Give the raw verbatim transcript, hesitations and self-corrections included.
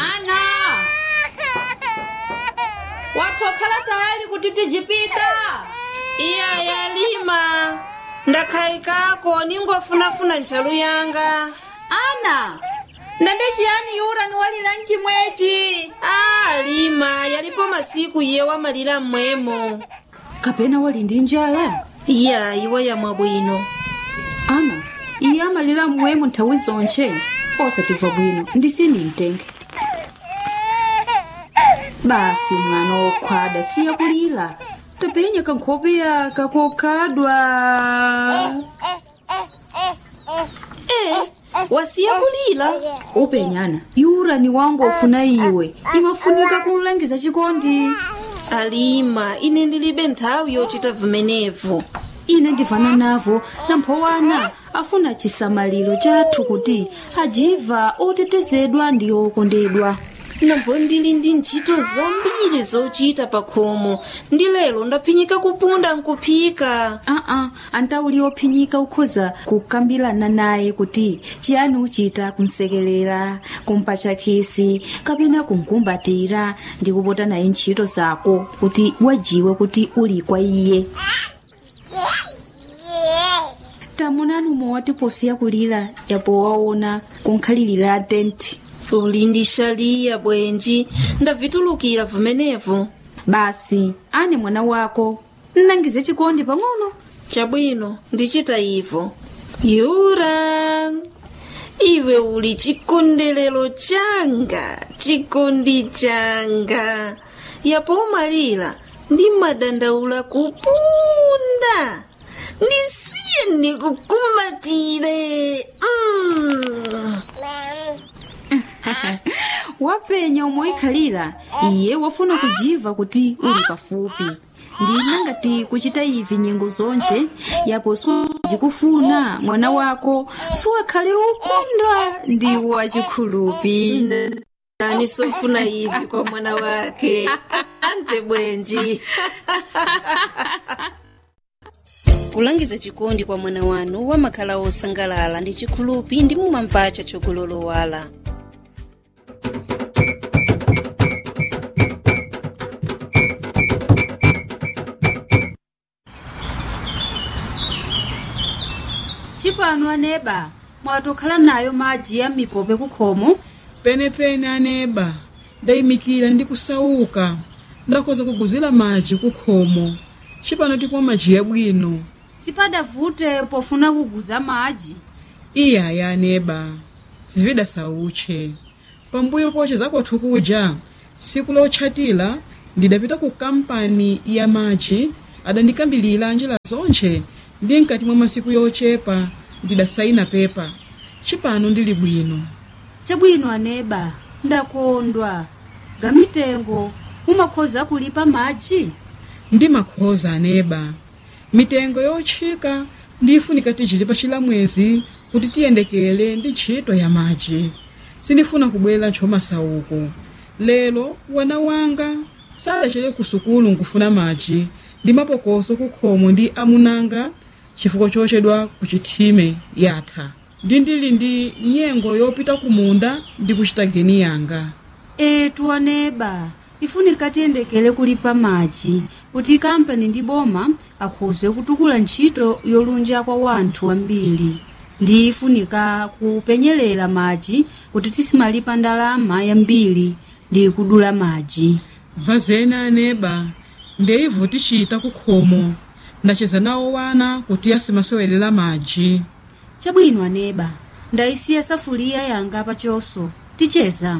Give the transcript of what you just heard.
Ana, watokhala tayali kuti tijipita? Iya yalima, ndakhayikako ningofunafuna ntchalu yanga. Ana, ndende chiyani yura niwalira mchimwechi? Ah, lima, yalipo masiku iye wamalira mmwemo. Kapena wali ndi njala? Iya, iwo yamwa bwino. Ana, iye amalira mwemo nthawi zonche, osatimva bwino ndisini mtenge. Basi mwana wokhwada, siya kulira, tapenya kankhope yaka kokhadwa. Eh, wasiya kulira. Upenyana yura ni wangu ofuna iwe, imafunika kumlangiza chikondi. Alima, ine ndilibe nthawi yochita vimenevo. Ine ndivana navo, namphowana afuna chisamaliro chathu kuti ajiva otetezedwa ndi okondedwa. Nambo ndili ndi ntchito zambiri zochita pa khomo, ndi lero ndaphinyika kupunda nkuphika. Aa, antauli ophinyika ukhoza kukambirana naye kuti chiyani uchita kumsekelera, kumpatcha khisi kapena kumkumbatira ndi kupota naye ntchito zako kuti wajiwe kuti uli kwa iye. Tamunani umwe watiposiya kulira, yapo waona kunkhalirira tenti. Uli ndi xaliya bwenji, ndavitulukira vimenevo. Basi ane mwana wako nnangize chikondi pang'ono. Chabwino, ndichita ivo. Yura, iwe uli chikondelero changa, chikondi changa. Yapo umalira ndi madandaula kupunda. Ndisiye ndikukumbatire. Mm. Wapenya umoikhalira, iye wafuna kujiva kuti uli pafupi. Ndina ngati kuchita ivi nyengo zonje, yapo sijikufuna mwana wako siwakhale ukondwa ndi wachikhulupi. Nani sofuna hivi kwa mwana wake. Asante bwenji. Kulangiza chikondi kwa mwana wanu wamakhala osangalala ndi chikhulupi ndi mumampacha chokulolowala. Chipano aneba, mwatokhala nayo madzi ya mipope kukhomo. Penepene aneba, ndayimikira ndi kusauka, ndakhoza kuguzira madzi kukhomo. Cipano tikumwa madzi yabwino. Sipadavute pofuna kuguza madzi. Iyaya aneba, zivida sauche. Pambuyo poche zakwathu kuja siku lotchatira ndidapita ku kampani ya madzi, adandikambilira njira zonche ndi mkati mwa masiku yochepa ndidasaina pepa. Cipano ndili bwino. Chabwino aneba, ndakondwa. Gamitengo mumakhoza kulipa madzi? Ndi makhoza aneba, mitengo yotchika ndifunika tichilipa chilamwezi kuti tiyendekere ndi ntchito ya madzi. Sindifuna kubwera ntchomasauko. Lero wana wanga sadachere ku sukulu nkufuna madzi ndi mapokoso kukhomo ndi amunanga chifukwa chochedwa ku chithime yatha. Ndi ndili ndi nyengo yopita kumunda ndi kuchita geni yanga. Etu aneba, ifunika tiyendekere kulipa madzi kuti kampani ndi boma akhoze kutukula ntchito yolunja kwa wanthu ambiri. Ndi ifunika kupenyerera madzi kuti tisimalipa ndalama yambiri ndi kudula madzi. Vazeni aneba, ndeivo tichita kukhomo, ndacheza nawo wana kuti asimasewelera madzi. Chabwino aneba, ndayisiya safuliya yanga pachoso, ticheza.